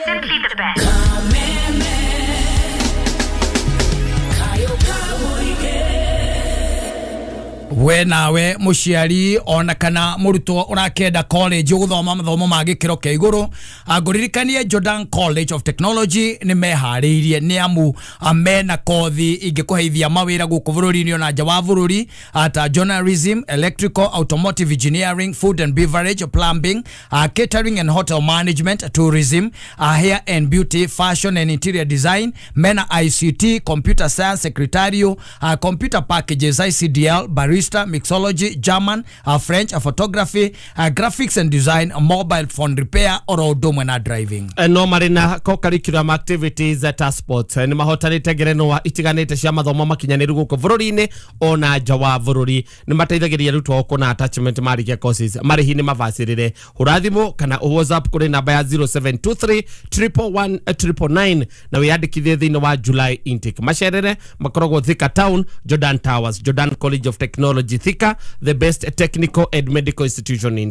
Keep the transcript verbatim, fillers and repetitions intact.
Simply the best. We nawe muciari ona kana murutwo urakenda college uguthoma mathomo ma gikiro kia iguru, nguririkanie Jordan College of Technology ni mehariirie ni amu mena kothi ingikuheithia mawira guku bururi-ini ona nja wa bururi ta journalism, electrical, automotive engineering, food and beverage, plumbing, uh, catering and hotel management, tourism, uh, hair and beauty, fashion and interior design, mena I C T, computer science, secretarial, uh, computer packages, I C D L, barista, mixology, German, uh, French, uh, photography, uh, graphics and design, uh, mobile phone repair, oro ũndũ na driving. No marĩ na co-curriculum activities ta sports nĩ mahotanĩte ngerenwa itiganĩte cia mathomo makinyanĩru gũkũ bũrũri-inĩ ona nja wa bũrũri. Nĩ mateithagĩrĩria arutwo kuona attachment marĩkia courses. Marĩhi nĩ mabacĩrĩre. Hũra thimũ kana WhatsApp kũrĩ namba ya zero seven two three triple one triple nine na wĩyandĩkithie thĩinĩ wa July intake. Macerere makoragwo Thika Town, Jordan Towers, Jordan College of Technology Thika, the best technical and medical institution in